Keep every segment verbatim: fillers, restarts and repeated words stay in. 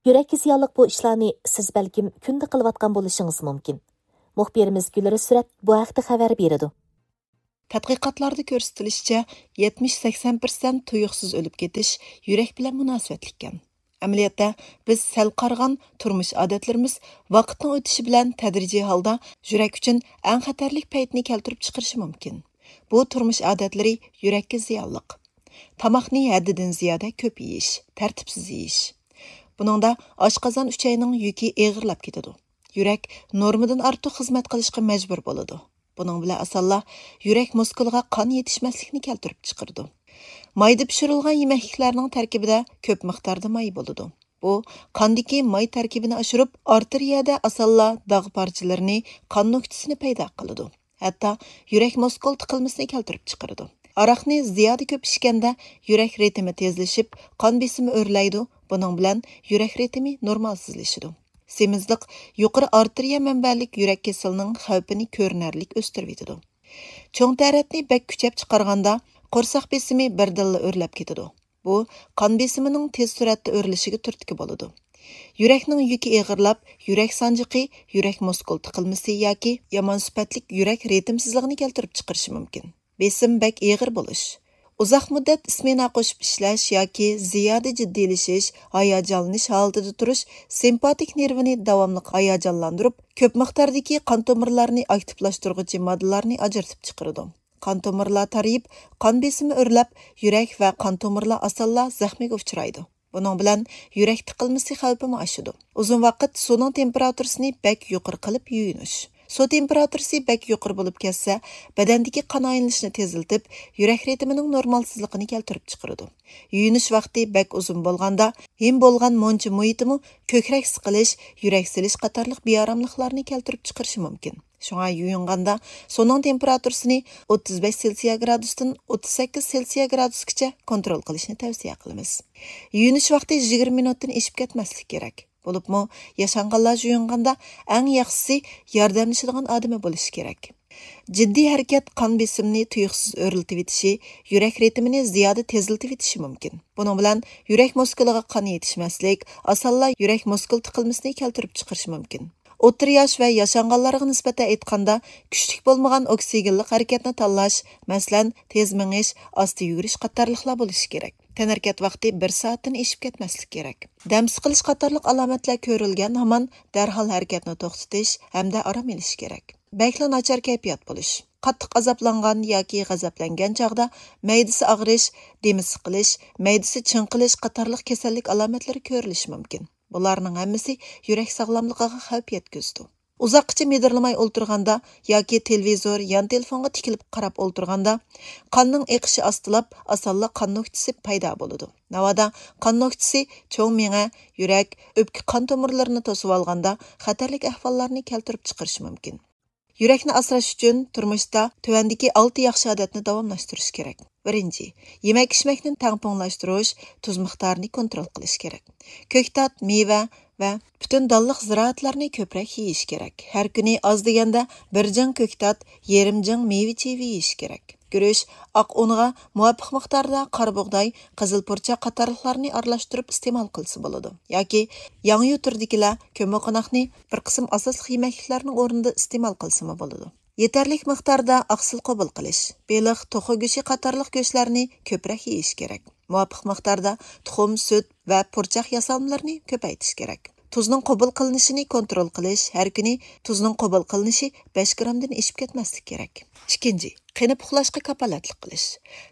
يۈرەككە زىيانلىق بۇ ئىشلارنى سىز بەلكىم كۈندە قىلىۋاتقان بولۇشىڭىز مۇمكىن. مۇخبىرىمىز گۈلرىسرەت بۇ ھەقتە خەۋەر بېرىدۇ. تەتقىقاتلاردا كۆرسىتىلىشىچە، يەتمىش سەكسەن پىرسەنت تۇيۇقسىز ئۆلۈپ كېتىش يۈرەك بىلەن مۇناسىۋەتلىككەن. ئەمەلىيەتتە، بىز سەل قارىغان تۇرمۇش ئادەتلىرىمىز ۋاقىتنىڭ ئۆتۈشى بىلەن تەدرىجىي ھالدا يۈرەك ئۈچۈن ئەڭ خەتەرلىك پەيتنى كەلتۈرۈپ چىقىرىشى مۇمكىن. بۇ تۇرمۇش ئادەتلىرى يۈرەككە زىيانلىق. تاماقنى ھەددىدىن زىيادە كۆپ يېيىش، تەرتىپسىز يېيىش. بۇنىڭدا ئاشقازان ئۈچەينىڭ يۈكى ئېغىرلاپ كېتىدۇ. يۈرەك نورمىدىن ئارتۇق خىزمەت قىلىشقا مەجبۇر بولىدۇ. بۇنىڭ بىلەن ئاسانلا يۈرەك مۇسكۇلىغا قان يېتىشمەسلىكنى كەلتۈرۈپ چىقىرىدۇ. مايدا پىشۇرۇلغان يېمەكلىكلەرنىڭ تەركىبىدە كۆپ مىقداردا ماي بولىدۇ. بۇ قاندىكى ماي تەركىبىنى ئاشۇرۇپ، ئارتېرىيەدە ئاسانلا داغ پارچىلىرىنى، قان نۆكتىسىنى پەيدا قىلىدۇ. ھەتتا يۈرەك مۇسكۇل تىقىلمىسىنى كەلتۈرۈپ چىقىرىدۇ. ھاراقنى زىيادە كۆپ ئىچكەندە يۈرەك رىتىمى تېزلىشىپ، قان بېسىمى ئۆرلەيدۇ، بۇنىڭ بىلەن يۈرەك رىتىمى نورمالسىزلىشىدۇ. سېمىزلىق يۇقىرى ئارتېرىيە مەنبەلىك يۈرەك كېسىلىنىڭ خەۋپىنى كۆرۈنەرلىك ئۆستۈرۈۋېتىدۇ. چوڭ تەرەتنى بەك كۈچەپ چىقارغاندا، قورساق بېسىمى بىردىنلا ئۆرلەپ كېتىدۇ. بۇ قان بېسىمىنىڭ تېز سۈرئەتتە ئۆرلىشىگە تۈرتكە بولىدۇ. يۈرەكنىڭ يۈكى ئېغىرلاپ، يۈرەك سانجىقى، يۈرەك مۇسكۇل تىقىلمىسى ياكى يامان سۈپەتلىك يۈرەك رىتىمسىزلىقىنى كەلتۈرۈپ چىقىرىشى مۇمكىن. بېسىم بەك ئېغىر بولۇش. ئۇزاق مۇددەت ئىسمېنا قوشۇپ ئىشلەش ياكى زىيادە جىددىيلىشىش، ھاياجانلىنىش ھالىتىدە تۇرۇش سىمپاتىك نېرۋىنى داۋاملىق ھاياجانلاندۇرۇپ، كۆپ مىقداردىكى قان تومۇرلارنى ئاكتىپلاشتۇرغۇچى ماددىلارنى ئاجرىتىپ چىقىرىدۇ. قان تومۇرلار تارىيىپ، قان بېسىمى ئۆرلەپ، يۈرەك ۋە قان تومۇرلار ئاسانلا زەخمىگە ئۇچرايدۇ. بۇنىڭ بىلەن يۈرەك تىقىلمىسى خەۋپىمۇ ئاشىدۇ. ئۇزۇن ۋاقىت سۇنىڭ تېمپېراتۇرىسىنى بەك يۇقىرى قىلىپ يۇيۇنۇش. سۇ تېمپېراتۇرىسى بەك يۇقىرى بولۇپ كەتسە، بەدەندىكى قان ئايلىنىشنى تېزلىتىپ، يۈرەك رىتىمىنىڭ نورمالسىزلىقىنى كەلتۈرۈپ چىقىرىدۇ. يۇيۇنۇش ُ ۋاقتى بەك ئۇزۇن بولغاندا، ھىم بولغان مۇنچا مۇھىتىمۇ كۆكرەك سىقىلىش، يۈرەك سېلىش قاتارلىق بىئاراملىقلارنى كەلتۈرۈپ چىقىرىشى مۇمكىن. شۇڭا يۇيۇنغاندا سۇنىڭ تېمپېراتۇرىسىنى ئوتتۇز بەش سېلسىيە گرادۇستىن ئوتتۇز سەككىز سېلسىيە گرادۇسقىچە كونترول قىلىشنى تەۋسىيە قىلىمىز. يۇيۇنۇش ۋاقتى يىگىرمە مىنۇتتىن ئېشىپ كەتمەسلىكى كېرەك. بولۇپمۇ ياشانغانلار يۇيۇنغاندا ئەڭ ياخشىسى ياردەملىشىدىغان ئادىمى بولۇشى كېرەك. جىددىي ھەرىكەت قان بېسىمىنى تۇيۇقسىز ئۆرلىتىۋېتىشى، يۈرەك رىتىمىنى زىيادە تېزلىتىۋېتىشى مۇمكىن. بۇنىڭ بىلەن يۈرەك مۇسكۇلىغا قان يېتىشمەسلىك، ئاسانلا يۈرەك مۇسكۇل تىقىلمىسىنى كەلتۈرۈپ چىقىرىشى مۇمكىن. ئوتتۇرا ياش ۋە ياشانغانلارغا نىسبەتەن ئېيتقاندا، كۈچلۈك بولمىغان ئوكسىگېنلىق ھەرىكەتنى تاللاش، مەسىلەن، تېز مېڭىش، ئاستا يۈگۈرۈش قاتارلىقلار بولۇشى كېرەك. تەنھەرىكەت ۋاقتى بىر سائەتتىن ئېشىپ كەتمەسلىكى كېرەك. دەم سىقىلىش قاتارلىق ئالامەتلەر كۆرۈلگەن ھامان دەرھال ھەرىكەتنى توختىتىش ھەمدە ئارام ئېلىش كېرەك. بەكلا ناچار كەيپىيات بولۇش. قاتتىق ئازابلانغان ياكى غەزەپلەنگەن چاغدا مەيدىسى ئاغرىش، دېمى سىقىلىش، مەيدىسى چىڭقىلىش قاتارلىق كېسەللىك ئالامەتلىرى كۆرۈلۈشى مۇمكىن. بۇلارنىڭ ھەممىسى يۈرەك ساغلاملىقىغا خەۋپ يەتكۈزىدۇ. ئۇزاققىچە مىدىرلىماي ئولتۇرغاندا ياكى تېلېۋىزور، يان تېلېفونغا تىكىلىپ قاراپ ئولتۇرغاندا، قاننىڭ ئېقىشى ئاستىلاپ، ئاسانلا قان نۆكتىسى پەيدا بولىدۇ. ناۋادا قان نۆكتىسى چوڭ مېڭە، يۈرەك، ئۆپكە قان تومۇرلىرىنى توسۇۋالغاندا، خەتەرلىك ئەھۋاللارنى كەلتۈرۈپ چىقىرىشى مۇمكىن. يۈرەكنى ئاسراش ئۈچۈن تۇرمۇشتا تۆۋەندىكى ئالتە ياخشى ئادەتنى داۋاملاشتۇرۇش كېرەك. بىرىنچى، يېمەك-ئىچمەكنى تەڭپۇڭلاشتۇرۇش، تۇز مىقدارىنى كونترول قىلىش كېرەك. كۆكتات، مېۋە ۋە پۈتۈن دانلىق زىرائەتلەرنى كۆپرەك يېيىش كېرەك. ھەر كۈنى ئاز دېگەندە بىر جىڭ كۆكتات، يېرىم جىڭ مېۋە-چېۋە يېيىش كېرەك. گۈرۈچ، ئاق ئۇنغا مۇۋاپىق مىقداردا قارا بۇغداي، قىزىل پۇرچاق قاتارلىقلارنى ئارىلاشتۇرۇپ ئىستېمال قىلسا بولىدۇ. ياكى ياڭيۇ تۈرىدىكىلەر كۆممىقوناقنى بىر قىسىم ئاساسلىق يېمەكلىكلەرنىڭ ئورنىدا ئىستېمال قىلسىمۇ بولىدۇ. يېتەرلىك مىقداردا ئاقسىل قوبۇل قىلىش، بېلىق، توخۇ گۆشى قاتارلىق گۆشلەرنى كۆپرەك يېيىش كېرەك. مۇۋاپىق مىقداردا تۇخۇم، سۈت ۋە پۇرچاق ياسالمىلىرىنى كۆپەيتىش كېرەك. تۇزنىڭ قوبۇل قىلىنىشىنى كونترول قىلىش، ھەر كۈنى تۇزنىڭ قوبۇل قىلىنىشى بەش گرامدىن ئېشىپ كەتمەسلىكى كېرەك. ئىككىنچى، قېنىپ ئۇخلاشقا كاپالەتلىك قىلىش.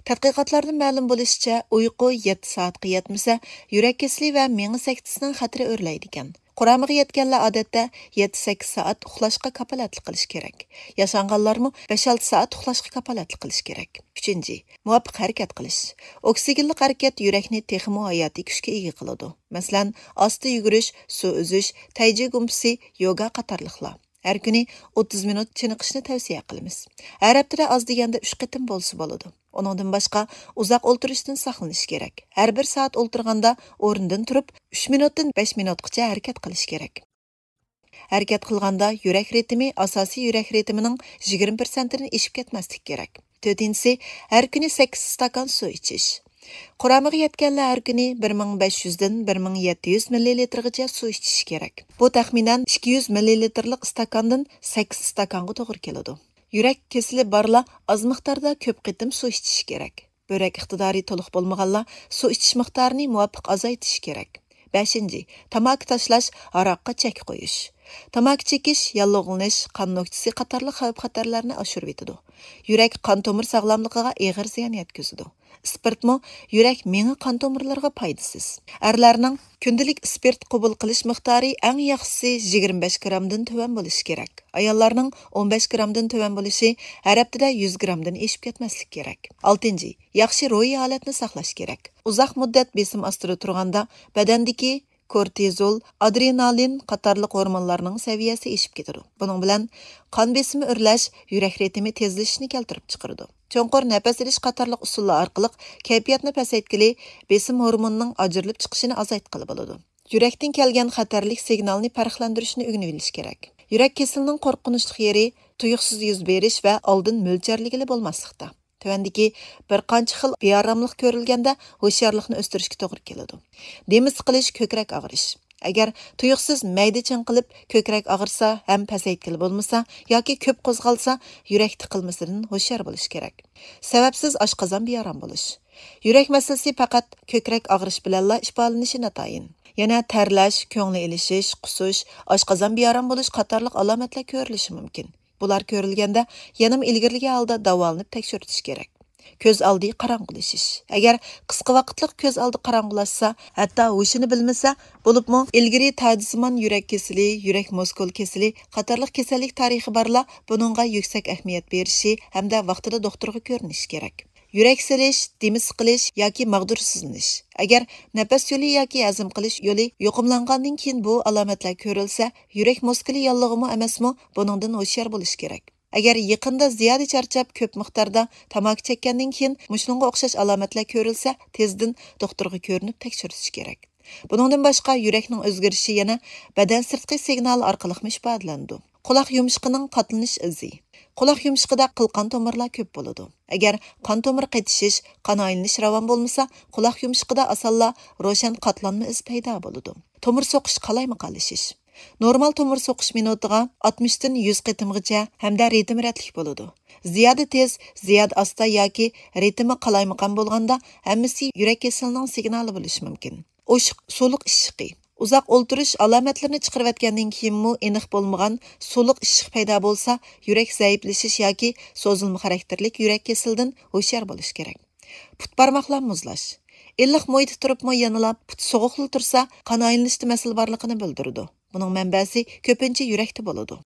تەتقىقاتلاردىن مەلۇم بولۇشىچە، ئۇيقۇ يەتتە سائەتكە يەتمىسە، يۈرەك كېسىلى ۋە مېڭە سەكتىسىنىڭ خەتىرى ئۆرلەيدىكەن. قۇرامىغا يەتكەنلەر ئادەتتە يەتتە سەككىز سائەت ئۇخلاشقا كاپالەتلىك قىلىشى كېرەك. ياشانغانلارمۇ بەش-ئالتە سائەت ئۇخلاشقا كاپالەتلىك قىلىشى كېرەك. ئۈچىنچى، مۇۋاپىق ھەرىكەت قىلىش. ئوكسىگېنلىق ھەرىكەت يۈرەكنى تېخىمۇ ھاياتىي كۈچكە ئىگە قىلىدۇ. مەسىلەن، ئاستا يۈگۈرۈش، سۇ ئۈزۈش، تەيجى گۇمپىسى، يوگا قاتارلىقلار. ھەر كۈنى ئوتتۇز مىنۇت چېنىقىشنى تەۋسىيە قىلىمىز. ھەر ھەپتىدە ئاز دېگەندە ئۈچ قېتىم بولسا بولىدۇ. ئۇنىڭدىن باشقا، ئۇزاق ئولتۇرۇشتىن ساقلىنىش كېرەك. ھەر بىر سائەت ئولتۇرغاندا ئورنىدىن تۇرۇپ، ئۈچ مىنۇتتىن بەش مىنۇتقىچە ھەرىكەت قىلىش كېرەك. ھەرىكەت قىلغاندا يۈرەك رىتىمى ئاساسىي يۈرەك رىتىمىنىڭ يىگىرمە پىرسەنتىدىن ئېشىپ كەتمەسلىكى كېرەك. تۆتىنچىسى، ھەر كۈنى سەككىز ئىستاكان سۇ ئىچىش. قۇرامىغا يەتكەنلەر ھەر كۈنى بىر مىڭ بەش يۈزدىن بىر مىڭ يەتتە يۈز مىللىلىتىرغىچە سۇ ئىچىشى كېرەك. بۇ تەخمىنەن ئىككى يۈز مىللىلىتىرلىق ئىستاكاندىن سەككىز ئىستاكانغا توغرا كېلىدۇ. يۈرەك كېسىلى بارلار ئاز مىقداردا كۆپ قېتىم سۇ ئىچىشى كېرەك. بۆرەك ئىقتىدارى تولۇق بولمىغانلار سۇ ئىچىش مىقدارىنى مۇۋاپىق ئازايتىشى كېرەك. بەشىنچى، تاماكا تاشلاش، ھاراققا چەك قويۇش. تاماكا چېكىش ياللۇغلىنىش، قان نۆكچىسى قاتارلىق خەۋپ-خەتەرلەرنى ئاشۇرۇۋېتىدۇ. يۈرەك، قان تومۇر ساغلاملىقىغا ئېغىر زىيان يەتكۈزىدۇ. ئىسپىرتمۇ يۈرەك، مېڭە، قان تومۇرلىرىغا پايدىسىز. ئەرلەرنىڭ كۈندىلىك ئىسپىرت قوبۇل قىلىش مىقدارى ئەڭ ياخشىسى يىگىرمە بەش گرامدىن تۆۋەن بولۇشى كېرەك. ئاياللارنىڭ ئون بەش گرامدىن تۆۋەن بولۇشى، ھەر ھەپتىدە يۈز گرامدىن ئېشىپ كەتمەسلىكى كېرەك. ئالتىنچى، ياخشى روھىي ھالەتنى ساقلاش كېرەك. ئۇزاق مۇددەت بېسىم ئاستىدا تۇرغاندا بەدەندىكى كورتىزول، ئادرېنالىن قاتارلىق ھورمونلارنىڭ سەۋىيەسى ئېشىپ كېتىدۇ. بۇنىڭ بىلەن قان بېسىمى ئۆرلەش، يۈرەك رىتىمى تېزلىشىشنى كەلتۈرۈپ چىقىرىدۇ. چوڭقۇر نەپەس ئېلىش قاتارلىق ئۇسۇللار ئارقىلىق كەيپىياتنى پەسەيتكىلى، بېسىم ھورمونىنىڭ ئاجرىلىپ چىقىشىنى ئازايتقىلى بولىدۇ. يۈرەكتىن كەلگەن خەتەرلىك سىگنالنى پەرقلەندۈرۈشنى ئۆگىنىۋېلىش كېرەك. يۈرەك كېسىلىنىڭ قورقۇنچلۇق يېرى تۇيۇقسىز يۈز بېرىش ۋە ئالدىن مۆلچەرلىگىلى بولماسلىقتا. تۆۋەندىكى بىر قانچە خىل بىئاراملىق كۆرۈلگەندە ھوشيارلىقنى ئۆستۈرۈشكە توغرا كېلىدۇ. دېمى سىقىلىش، كۆكرەك ئاغرىش. ئەگەر تۇيۇقسىز مەيدە چىڭقىلىپ كۆكرەك ئاغرىسا ھەم پەسەيتكىلى بولمىسا ياكى كۆپ قوزغالسا، يۈرەك تىقىلمىسىدىن ھوشيار بولۇش كېرەك. سەۋەبسىز ئاشقازان بىئارام بولۇش. يۈرەك مەسىلىسى پەقەت كۆكرەك ئاغرىش بىلەنلا ئىپادىلىنىشى ناتايىن. يەنە تەرلەش، كۆڭلى ئېلىشىش، قۇسۇش، ئاشقازان بىئارام بولۇش قاتارلىق ئالامەتلەر كۆرۈلۈشى مۇمكىن. بۇلار كۆرۈلگەندە يەنىمۇ ئىلگىرىلىگەن ھالدا داۋالىنىپ تەكشۈرتۈش كېرەك. كۆز ئالدى قاراڭغۇلىشىش. ئەگەر قىسقا ۋاقىتلىق كۆز ئالدى قاراڭغۇلاشسا، ھەتتا ھوشىنى بىلمىسە، بولۇپمۇ ئىلگىرى تاجسىمان يۈرەك كېسىلى، يۈرەك مۇسكۇل كېسىلى قاتارلىق كېسەللىك تارىخى بارلار بۇنىڭغا يۈكسەك ئەھمىيەت بېرىشى ھەمدە ۋاقتىدا دوختۇرغا كۆرۈنۈشى كېرەك. يۈرەك سېلىش، دېمى سىقىلىش ياكى ماغدۇرسىزلىنىش. ئەگەر نەپەس يولى ياكى ھەزىم قىلىش يولى يۇقۇملانغاندىن كېيىن بۇ ئالامەتلەر كۆرۈلسە، يۈرەك مۇسكۇلى ياللۇغىمۇ ئەمەسمۇ، بۇنىڭدىن ھوشيار بولۇش كېرەك. ئەگەر يېقىندا زىيادە چارچاپ، كۆپ مىقداردا تاماكا چەككەندىن كېيىن مۇشۇنىڭغا ئوخشاش ئالامەتلەر كۆرۈلسە، تېزدىن دوختۇرغا كۆرۈنۈپ تەكشۈرتۈش كېرەك. بۇنىڭدىن باشقا، يۈرەكنىڭ ئۆزگىرىشى يەنە بەدەن سىرتقى سىگنالى ئارقىلىقمۇ ئىپادىلىنىدۇ. قۇلاق يۇمشىقىنىڭ قاتلىنىش ئىزى. قۇلاق يۇمشىقىدا قىلقان تومۇرلار كۆپ بولىدۇ. ئەگەر قان تومۇر قېتىشىش، قان ئايلىنىش راۋان بولمىسا، قۇلاق يۇمشىقىدا ئاسانلا روشەن قاتلانما ئىز پەيدا بولىدۇ. تومۇر سوقۇش قالايمىقانلىشىش. نورمال تومۇر سوقۇش مىنۇتىغا ئاتمىشتىن يۈز قېتىمغىچە ھەمدە رىتىمى رەتلىك بولىدۇ. زىيادە تېز، زىيادە ئاستا ياكى رىتىمى قالايمىقان بولغاندا، ھەممىسى يۈرەك كېسىلىنىڭ سىگنالى بولۇشى مۇمكىن. ئوشۇق، سۇلۇق ئىششىقى. ئۇزاق ئولتۇرۇش ئالامەتلىرىنى چىقىرىۋەتكەندىن كېيىنمۇ ئېنىق بولمىغان سۇلۇق ئىششىق پەيدا بولسا، يۈرەك زەئىپلىشىش ياكى سوزۇلما خاراكتېرلىك يۈرەك كېسىلىدىن ھوشيار بولۇش كېرەك. پۇت بارماقلار مۇزلاش. ئىللىق مۇھىتتا تۇرۇپمۇ يەنىلا پۇت سوغۇقلا تۇرسا، قان ئايلىنىشتا مەسىلە بارلىقىنى بىلدۈرىدۇ. بۇنىڭ مەنبەسى كۆپىنچە يۈرەكتە بولىدۇ.